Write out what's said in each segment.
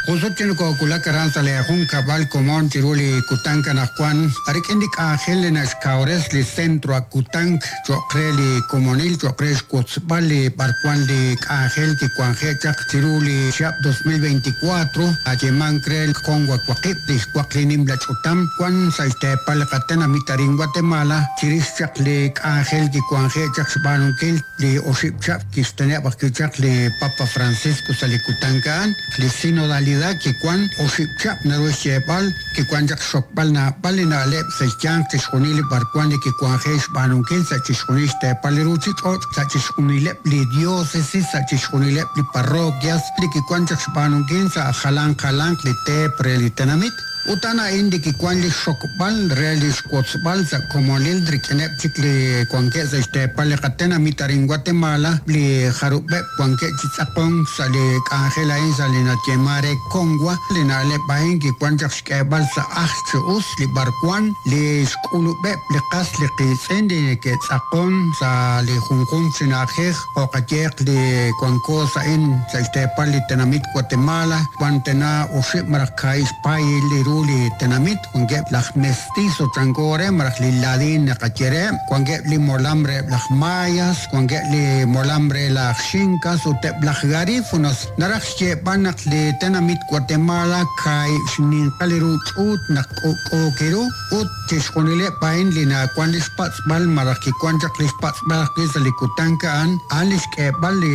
Jun sut chik nokoowulak aran sa' lee junkab'al komon chiru li kutank anaqwan, rik'in li k'anjel li naxkawres li Centro Akutank cho'q re li komonil cho'q re xwotzb'al li b'arwan li k'anjel kiwanje' chaq chiru li chihab' 2024, nayeemank re Conwa Waqib', li xwaq li nimla ch'utam wan sa' xteepal li qatenamit arin Guatemala, chirix chaq li k'anjel kiwanje' chaq xb'aanunkil li oxib' chihab' kixteneb' ajwi' chaq li Papa Francisco sa' li kutank a'an. Li sinodalidad kiwan oxib' chihab' naru xyeeb'al, kiwan chaq xxokb'al naab'al li na'leb' sa' xyanq chixjunil li b'arwan li kiwanje' xb'aanunkil sa' chixjunil xteepal li ruchich'och', sa' chixjunileb' li diocesis, sa' chixjunileb' li parroquias, li kiwan chaq xb'aanunkil sa' jalanq jalanq li teep re li tenamit. Ut a'an a'in li kiwan li xxokb'al re li xwotzb'al sa' komonil rik'ineb' chik li wankeb' sa' xteepal li qatenamit arin Guatemala, li jarub'eb' wankeb' chi tz'aqonk sa' li k'anjel a'in sa' li nayeeman re Conwa. Li na'leb' a'in kiwan chaq xk'eeb'al sa' ajl chi us li b'arwan li xk'ulub'eb' li qas li qiitz'in li neke'tz'aqon sa' li junjunq chi na'ajej, jo' qayeeq li wanko sa' a'in sa' xteepal li tenamit Guatemala, wan tana oxib' malaj kaahib' xpaayil li ru li tenamit, wankeb' laj mestizo chanko re malaj li ladin naqaye reheb', wankeb' li molam reheb' laj mayas, wankeb' li molam re laj xincas ut eb' laj garífunas. Naraj xyeeb'al naq li tenamit Guatemala kaahib' xninqal li ru ch'uut naq k'ub'k'uuki ru ut chixjunileb' a'in li nawan li xpatz'b'al malaj kiwan chaq li xpatz'b'al ajwi' sa' li kutank a'an, a'an li xk'eeb'al li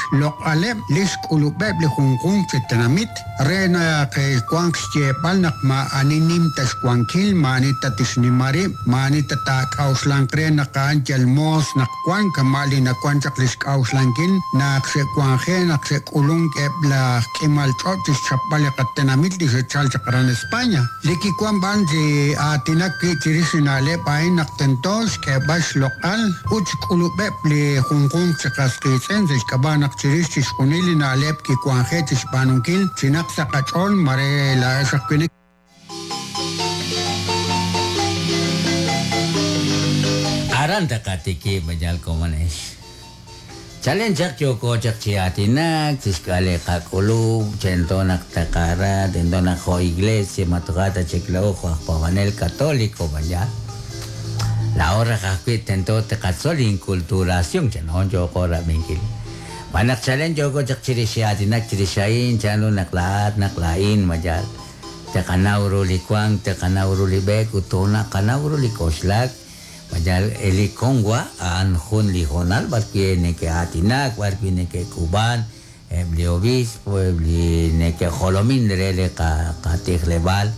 xloq'aleb' li xk'ulub'eb' li junjunq chi tenamit re naq wanq xyeeb'al naq maa'ani nim ta xwankil, maa'ani ta tixnima rib', maa'ani ta taak'a'uxlanq re naq a'an yal moos naq wan kama' li nawan chaq li xk'a'uxlankil naq xe'wanje' naq xe'k'ulunk eb' laj k'imal ch'och' chi xchapb'al li qatenamit li xe'chal chaq aran España. Li kiwan b'an chi aatinak wi' chirix li na'leb' a'in naq tento xk'eeb'al xloq'al ut xk'ulub'eb' li junjunq chi qas qiitz'in sa' xk'ab'a' naq chirix chixjunil li na'leb' kiwanje' chi xb'aanunkil chinaq sa' qach'ool mare laa'ex ajwi' Aran taqatikib' yal komonex. Chalen chaq yooko chaq chi aatinak chixk'al li qak'ulub', tento naq taqara, tento naq jo' iglesia ma toja' ta chik laa'o jo' aj paab'anel katoliko, b'ayaq. Laa'o raj ajwi' tento taqatzol inculturación, chan yooko rab'inkil. Xb'aan naq chalen yooko chaq chirix chi aatinak chirix a'in, chanru naq laa'at, naq laa'in, ma yaal. Taqanaw ru li wank, taqanaw ru li b'eek ut toonaqanaw ru li k'oxlak. Mayal li Conwa a'an jun li hoonal b'ar wi' neke'aatinak, b'ar wi' neke'k'ub'an eb' li obispo, eb' li neke'jolomin re li qatijleb'aal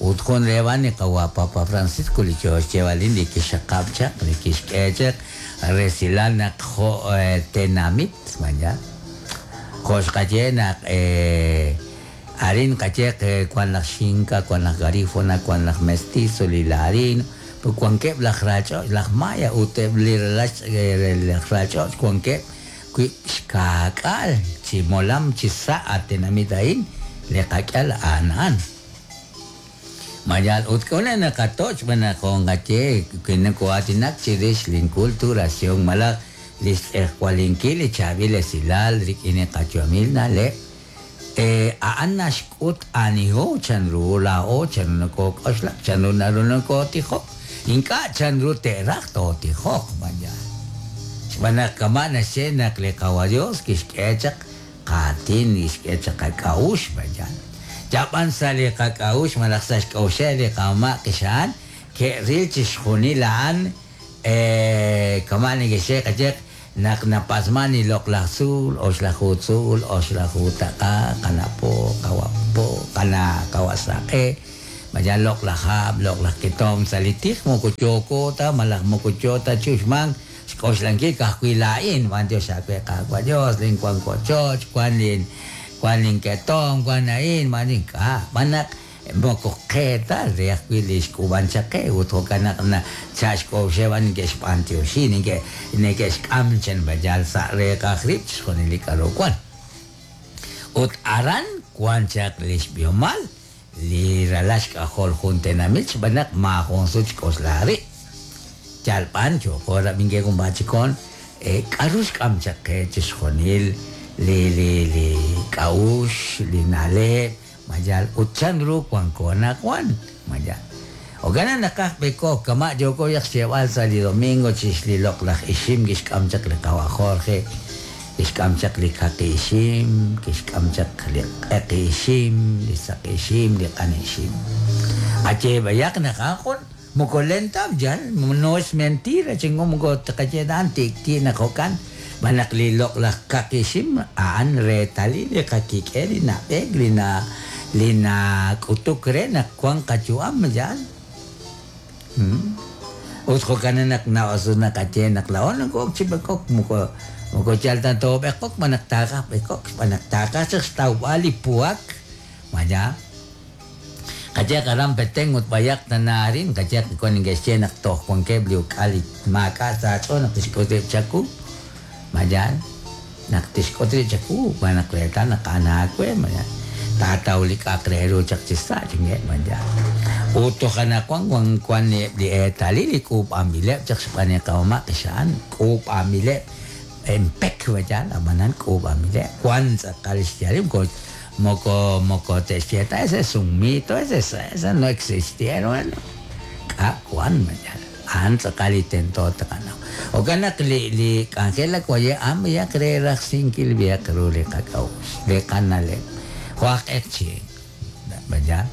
ut jun reheb' a'an li qawa' Papa Francisco li yoo xyeeb'al li kixxaqab' chaq, li kixk'e chaq resilal naq jo' tenamit, mayal jo' xqaye naq Arin qayeeq wan laj Xinka, wan laj Garifuna, wan laj Mestizo, li Ladino, ut wankeb' laj ralch'och', laj Maya ut eb' li ralal laj ralch'och' wankeb' wi' xkaak'aal chi molam chi sa' a tenamit a'in li qak'al a'an a'an. Ma yaal ut k'a'ut naq naqatoch' xb'aan naq jo' nqaye wi noko'aatinak chirix linkulturación malaj li xtz'ejwalinkil li chaab'il esilal rik'in li qayu'amil na'leb', A'an naxk'ut aniho, chanru laa'o, chanru nokook'oxlak, chanru naru nokootijok, ink'a' chanru te'raj tootijoq, b'an yaal. Xb'aan naq kama' naxye naq li Qawa' Dios kixk'e chaq qaatin, kixk'e chaq qak'a'uxl, b'an yaal. Yab'an sa' li qak'a'uxl malaj sa' xk'a'uxeb' li qamama' qixa'an ke'ril chixjunil a'an, Kama' neke'xye qayeq naq napatz'man li loq'laj tzuul, oxlaju tzuul, oxlaju taq'a, qana' po, qawa' po, qana' qawa' saq'e, malaj loq'laj hab', loq'laj ketomq sa' li tij moko yooko ta malaj moko yo ta chi uxmank xk'oxlankil ka'ajwi' laa'in, b'antiox aawe Qaawa' Dios, lin wank wochoch, wan lin wan linketomq, wan a'in, wan ink'a', b'an naq Moko qe ta, re ajwi' li xk'uub'an chaq qe, ut jo'kan naq sa' xk'a'uxeb' a'an neke'xb'antioxi, neke'xk'am chenb'ayal sa' reeqaj rib' chixjunil li k'a'ru wan. Ut aran wan chaq lix b'ihomal li ralal xk'ajol jun tenamit xb'aan naq maajun sut xk'oxla rib'. Yal b'an yooko rab'inkil junpaat chikon, k'a'ru xk'am chaq qe chixjunil li li li k'a'. k'a'uxl, li na'leb', mayal ut chanru wanko anaqwan, mayal. Jo'kan naqaj b'ekok, kama' yooko chaq xyeeb'al sa' li domingo chirix li loq'laj ixim kixk'am chaq li qawa' Jorge, kixk'am chaq li kaqi ixim, kixk'am chaq li q'eqi ixim, li saqi ixim, li q'ani ixim. Qayeeb'ayaq naq a'an jun moko lenta yal, no es mentira, chingo moko tqaye daan tikti' naq jo'kan, b'an naq li loq'laj kaqi ixim a'an reetalil li qakik'el li nab'eek, li na li nak'utuk re naq wan qayu'am yal. Ut jo'kan naq na'osu naqaye naq laa'o nokok chi b'ekok, moko moko yal ta toob'ekok, b'an naq taqaj b'ekok, b'an naq taqaj chaq xtawb'al li puak, maya. Qayeq aran Petén ut b'ayaq tanaarin, qayeq wan neke'xye naq toj wankeb' li uk'al li maak'a' sa' aach'ool naq tixk'ut rib' chaku, mayal, naq tixk'ut rib' chaku, b'an naq reetal naq a'an aawe, mayal. Taataw li k'a'aq re ru chaq chi sa', chinge', mayal. Ut toj anaqwan wan wan eb' li eetalil li k'uub'anb'ileb' chaq xb'aan li qamama' qixa'an, k'uub'anb'ileb' empek, mayal, ab'anan k'uub'anb'ileb', wan tz'aqal xyaalil, moko moko moko te'xye ta, ese es un mito, ese ese no existieron, k'a' wan, mayal. A'an tz'aqal li tento taqanaw. Jo'kan naq li li k'anjel waye' a'an b'ayaq re rajsinkil b'ayaq ru li qak'a'uxl, li qana'leb'. Jo' aj q'eqchi', mayal.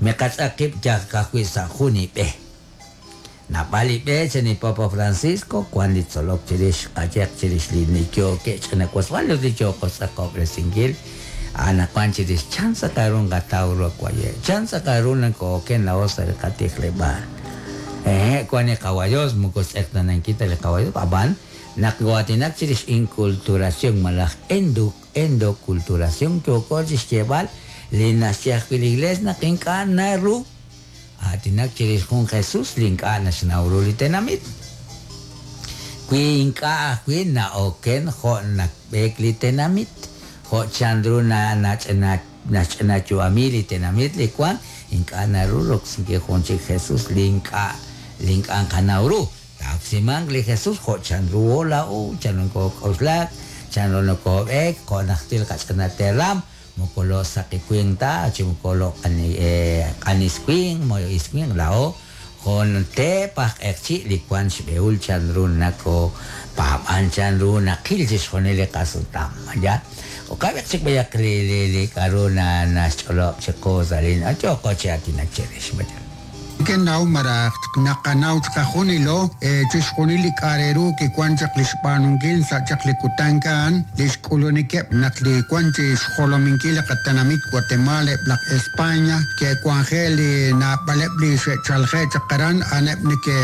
Miqatz'aq qib' yal ka'ajwi' sa' jun li b'e. Naab'al li b'e chan li Papa Francisco, wan li tzolok chirix qayeq chirix li yookeb' ch'ina wasb'al ut li yooko xtz'aqob'resinkil. Anaqwan chirix chan tz'aqal ru nqataw ru waye', chan tz'aqal ru nakooken laa'o sa' li qatijleb'aal. Wan li qawayos, moko xtz'eqtanankil ta li qawayos, ab'an naq waatinak chirix inculturación malaj endoculturación yooko chixyeeb'al li naxye ajwi' li iglesia naq ink'a' naru aatinak chirix jun Jesús li ink'a' naxnaw ru li tenamit. Wi ink'a' ajwi' na'oken jo' nakb'eek li tenamit, jo' chanru na nach'ina naxch'ina yu'ami li tenamit li wan, ink'a' naru roksinkil jun chik Jesús li ink'a' li ink'a' nqanaw ru. Taoksimanq li Jesús jo' chanru laa'o, chanru nokok'oxlak, chanru nokob'eek, jo' najtil qach'ina teram, moko lo saqi winq ta, chi moko lo q'ani q'anis winq, moyo is winq laa'o, jun teep aj q'eqchi' li wan xb'ehul chanru nako paab'an chanru naqil chixjunil li qasutam, ya. Uqab'eq chik b'ayaq li li li k'a'ru na naxch'olob' chiqu sa' li yooko chi aatinak chirix, mayal. Kenaw maraj naqanaw chqajunilo chixjunil li k'a' re ru kiwan chaq li xb'aanunkil sa' chaq li kutan a'an li xk'ulunikeb' naq li wan chi xjolominkil li qatenamit Guatemala eb' laj España ke'wanje li naab'aleb' li xe'chalje chaq aran a'aneb' neke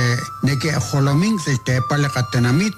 neke'jolomink sa' xteepal li qatenamit.